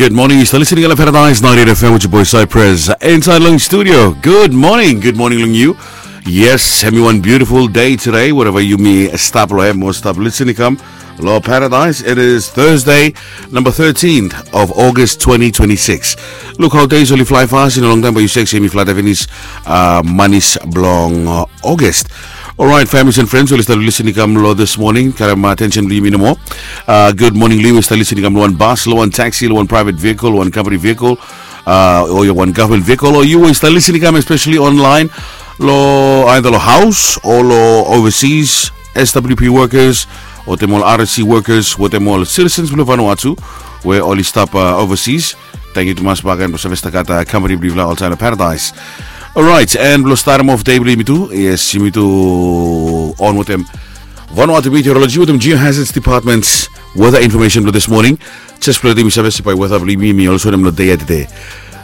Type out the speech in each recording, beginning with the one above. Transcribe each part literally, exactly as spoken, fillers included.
Good morning, yu stap listening long Paradise ninety-eight F M with your boy Cypress inside long studio. Good morning, good morning long yu. Yes, hemi wan beautiful day today, wherever yumi stap long hem o stap listening kam long Paradise. It is Thursday, number thirteenth of August twenty twenty-six. Look how days oli fly fast, in a long time, but yu sek se hemi fly finis uh, manis blong uh, August. Alright, families and friends, oli stap listening kam long this morning, karem attention blong yumi nomo. Uh, good morning long yu we stap listening kam long wan bus, long wan taxi, long wan private vehicle, wan company vehicle, uh, o wan government vehicle, o yu we stap listening kam especially online, long either long house o long overseas, S W P workers, wetem ol R S C workers, wetem ol citizens blong Vanuatu we oli stap uh, overseas. Tangkiu tumas bakegen blong save stap gat uh, company blong yufala oltaem long Paradise. Alright, and blong statem of day blong yumi tu, yes, yumi tu on wetem Vanuatu Meteorology wetem Geohazards Department's weather information blong this morning. Jes blong letem yumi save se bae weather blong yumi, yumi olsem long dei ya tede.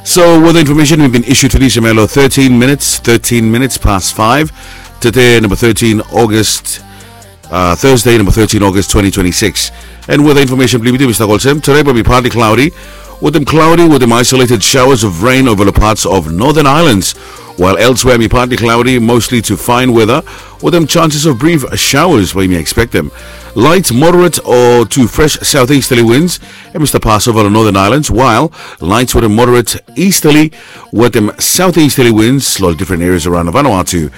So weather information we bin issue tede, hemi long thirteen minutes, thirteen minutes past five. Tede, number thirteen August, uh, Thursday, number thirteen August twenty twenty-six. And weather information blong yumi tu hemi stap olsem, today bae hemi partly cloudy, wetem cloudy, wetem isolated showers of rain over the parts of northern islands, while elsewhere hemi partly cloudy, mostly to fine weather, wetem chances of brief showers bae yumi expectem. Light, moderate or to fresh southeasterly winds hemi stap pass over the northern islands, while light wetem moderate easterly wetem southeasterly winds long different areas around Vanuatu.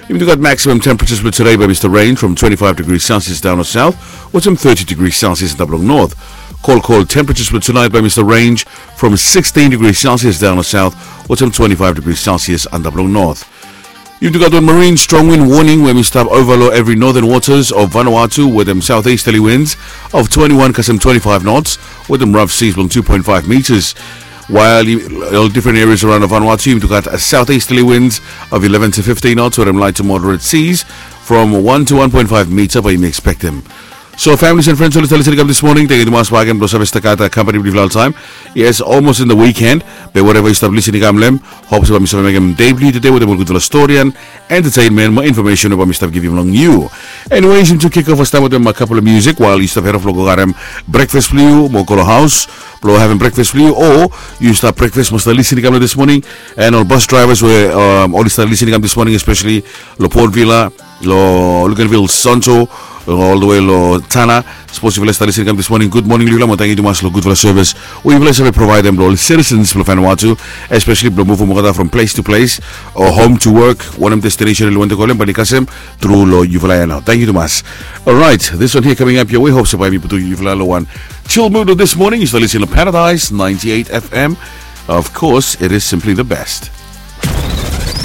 Yumi tu gat maximum temperatures blong today bae hemi stap range from twenty-five degrees Celsius down to south, wetem thirty degrees Celsius antap long north. Cold, cold temperatures blong tonight bae hemi stap range from sixteen degrees Celsius down to south, wetem twenty-five degrees Celsius antap long north. Yumi tu gat wan marine strong wind warning we hemi stap ova long evri northern waters of Vanuatu wetem southeasterly winds of twenty-one kasem twenty-five knots, wetem rough seas blong two point five meters. While ol different areas around Vanuatu yumi tu gat southeasterly winds of eleven to fifteen knots wetem light to moderate seas from one to one point five meter bae yumi expectem. So families and friends oli stap listening kam this morning, tangkiu tumas bakegen blong save stap gat uh, company blong yufala oltaem. Yes, almost in the weekend, be wherever yu stap listening kam long hem, hope se bae mi save mekem dei blong yu tede wetem ol gudfala storian, entertainment mo information we bae mi stap givim long yu. Anyways, yumi tu kick off fastaem wetem a couple of music while yu stap head off blong go karem breakfast blong yu mo go long house blong havem breakfast blong yu, o yu stap breakfast mo stap listening kam long this morning. And ol bus drivers we um, oli stap listening kam this morning, especially long Port Vila, long Luganville Central, all the way long Tanna. Sapos yufala stap listening kam this morning, good morning long yufala mo tangkiu tumas long gudfala service we yufala save provaedem long ol citizens blong Vanuatu, especially blong muvum olgeta from place to place o home to work, wanem destination oli wantem go long hem, bae oli kasem tru long yufala ya nao. Tangkiu tumas. Alright, this one here coming up your way, hope se bae mi putum yufala long wan chill mood this morning. Yu stap listening long Paradise ninety-eight F M. Of course, it is simply the best.